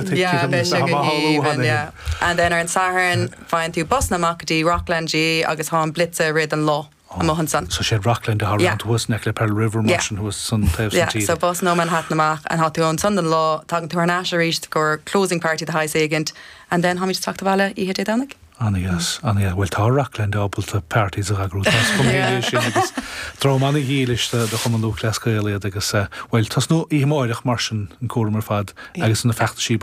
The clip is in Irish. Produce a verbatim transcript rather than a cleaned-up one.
Yeah, beidh sé go haoibhinn, yeah. And then ar an Satharn faigheann tú bus amach go dtí Rockland G agus tá an Blitz i rith an lá amuigh ansan. So sé Rockland a Yeah. thuas le Pearl River Yeah. mar sin thuas san taobh Yeah, san so tír. bus nó Manhattan amach and tá tú ansan an lá tagann tú ar ais arís go closing party the high éigint and then táimid ag teacht abhaile oíche Dé Domhnaigh. An-dheas an-dheas bhfuil tá Rockland ábalta parties a eagrú sin agus dream an-dhílis do Chumann Lúthchleas Gael iad agus bhfuil tosnú amárach mar sin an cúram ar fad agus na feachtaisí